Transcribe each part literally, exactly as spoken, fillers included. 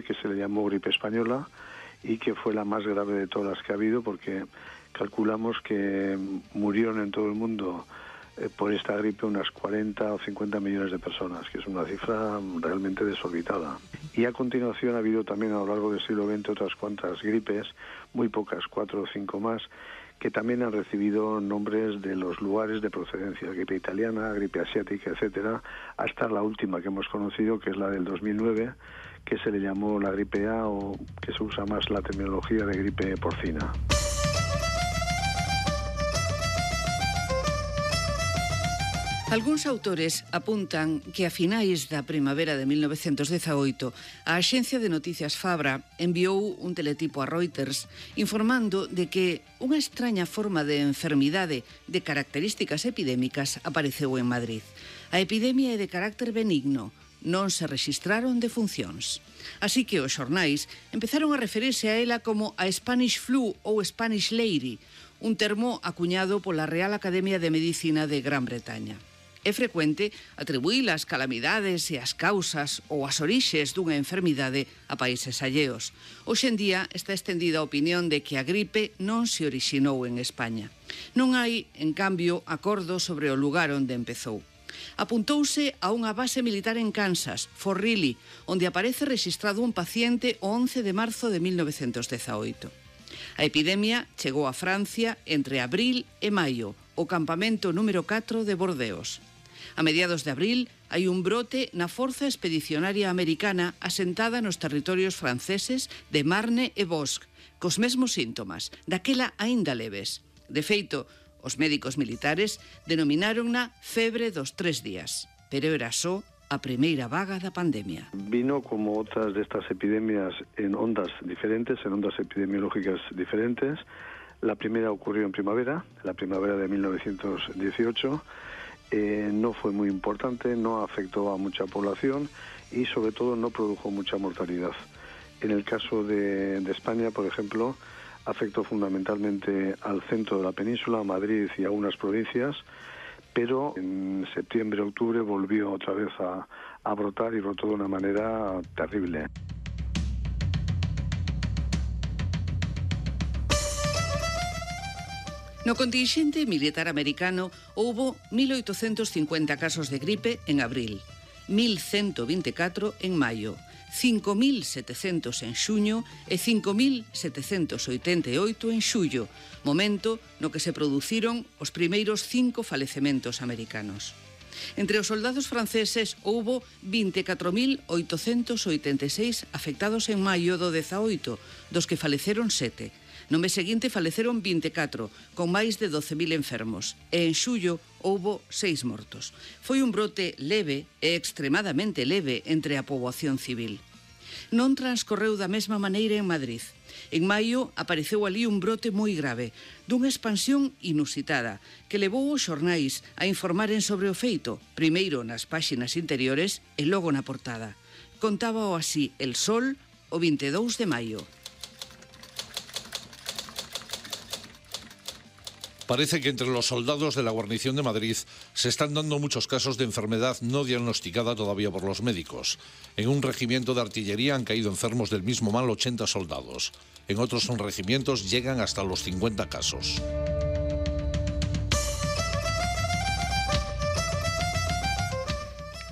que se le llamó gripe española y que fue la más grave de todas las que ha habido, porque calculamos que murieron en todo el mundo eh, por esta gripe unas cuarenta o cincuenta millones de personas, que es una cifra realmente desorbitada. Y a continuación ha habido también a lo largo del siglo veinte otras cuantas gripes, muy pocas, cuatro o cinco más, que también han recibido nombres de los lugares de procedencia, gripe italiana, gripe asiática, etcétera, hasta la última que hemos conocido, que es la del dos mil nueve, que se le llamó la gripe A, o que se usa más la terminología de gripe porcina. Algúns autores apuntan que a finais da primavera de mil novecentos dezaoito a Axencia de Noticias Fabra enviou un teletipo a Reuters informando de que unha extraña forma de enfermidade de características epidémicas apareceu en Madrid. A epidemia é de carácter benigno, non se rexistraron defuncións. Así que os xornais empezaron a referirse a ela como a Spanish Flu ou Spanish Lady, un termo acuñado pola Real Academia de Medicina de Gran Bretaña. É frecuente atribuir as calamidades e as causas ou as orixes dunha enfermidade a países alleos. Hoxe en día está estendida a opinión de que a gripe non se orixinou en España. Non hai, en cambio, acordo sobre o lugar onde empezou. Apuntouse a unha base militar en Kansas, Fort Riley, onde aparece rexistrado un paciente o once de marzo de mil novecentos dezaoito. A epidemia chegou a Francia entre abril e maio, o campamento número catro de Bordeos. A mediados de abril hai un brote na Forza Expedicionaria Americana asentada nos territorios franceses de Marne e Bosque, cos mesmos síntomas, daquela aínda leves. De feito, os médicos militares denominárona febre dos tres días, pero era só a primeira vaga da pandemia. Vino como otras de estas epidemias en ondas diferentes, en ondas epidemiológicas diferentes. La primera ocurrió en primavera, la primavera de mil novecientos dieciocho. Eh, no fue muy importante, no afectó a mucha población y sobre todo no produjo mucha mortalidad. En el caso de, de España, por ejemplo, afectó fundamentalmente al centro de la península, a Madrid y a unas provincias, pero en septiembre, octubre volvió otra vez a, a brotar y brotó de una manera terrible. No contingente militar americano houbo mil oitocentos cincuenta casos de gripe en abril, mil ciento veinticuatro en maio, cinco mil setecentos en xuño e cinco mil setecentos oitenta e oito en xullo, momento no que se produciron os primeiros cinco falecementos americanos. Entre os soldados franceses houbo vinte e catro mil oitocentos oitenta e seis afectados en maio do dezaoito, dos que faleceron sete. No mes seguinte faleceron vinte e catro, con máis de doce mil enfermos, e en xullo houbo seis mortos. Foi un brote leve e extremadamente leve entre a poboación civil. Non transcorreu da mesma maneira en Madrid. En maio apareceu ali un brote moi grave, dunha expansión inusitada, que levou os xornais a informaren sobre o feito, primeiro nas páxinas interiores e logo na portada. Contábao así El Sol o vinte e dous de maio. Parece que entre los soldados de la guarnición de Madrid se están dando muchos casos de enfermedad no diagnosticada todavía por los médicos. En un regimiento de artillería han caído enfermos del mismo mal ochenta soldados. En otros regimientos llegan hasta los cincuenta casos.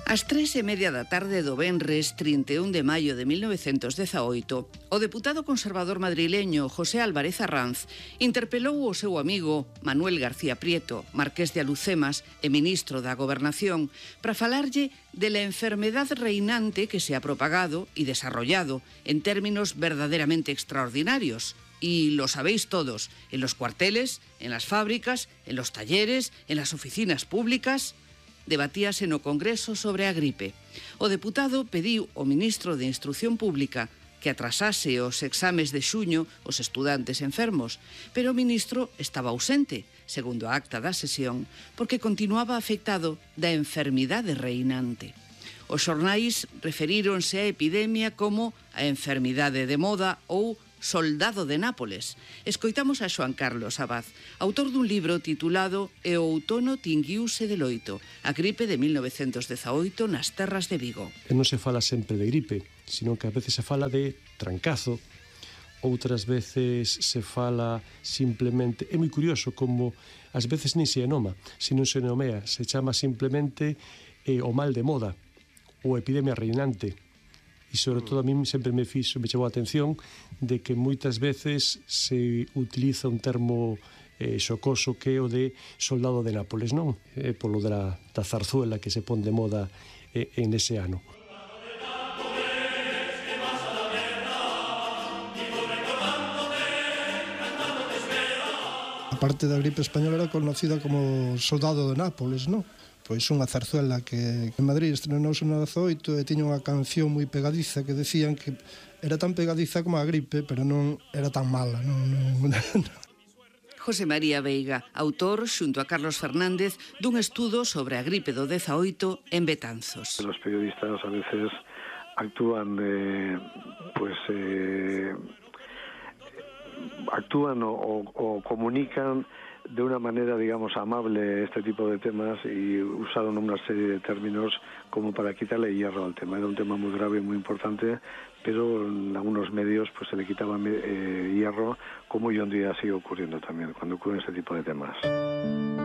Ás tres e media da tarde do venres trinta e un de maio de mil novecentos dezaoito, o deputado conservador madrileño José Álvarez Arranz interpelou o seu amigo Manuel García Prieto, marqués de Alucemas e ministro da Gobernación, para falarlle de la enfermedad reinante que se ha propagado y desarrollado en términos verdaderamente extraordinarios. Y lo sabéis todos, en los cuarteles, en las fábricas, en los talleres, en las oficinas públicas. Debatíase no Congreso sobre a gripe. O deputado pediu ao ministro de Instrucción Pública que atrasase os exames de xuño os estudantes enfermos, pero o ministro estaba ausente, segundo a acta da sesión, porque continuaba afectado da enfermidade reinante. Os xornais referíronse á epidemia como a enfermidade de moda ou Soldado de Nápoles. Escoitamos a Xoan Carlos Abad, autor dun libro titulado E o outono tinguiuse de loito, a gripe de mil novecentos dezaoito nas terras de Vigo. E non se fala sempre de gripe, sino que a veces se fala de trancazo, outras veces se fala simplemente... É moi curioso como ás veces nin se enoma, se non se nomea, se chama simplemente eh, o mal de moda, ou epidemia reinante. E sobre todo a mí sempre me fixo, me chamou a atención de que moitas veces se utiliza un termo eh, xocoso que é o de soldado de Nápoles, non? É polo da, da zarzuela que se pon de moda eh, en ese ano. A parte da gripe española era conocida como soldado de Nápoles, non? Pois unha zarzuela que en Madrid estrenouse no dezaoito e tiña unha canción moi pegadiza que decían que era tan pegadiza como a gripe, pero non era tan mala, non, non, non. José María Veiga, autor, xunto a Carlos Fernández, dun estudo sobre a gripe do dezaoito en Betanzos. Los periodistas a veces actúan, eh, pues... Eh, actúan o, o, o comunican de una manera, digamos, amable este tipo de temas y usaron una serie de términos como para quitarle hierro al tema. Era un tema muy grave y muy importante, pero en algunos medios pues se le quitaba eh, hierro, como hoy en día sigue ocurriendo también cuando ocurren este tipo de temas.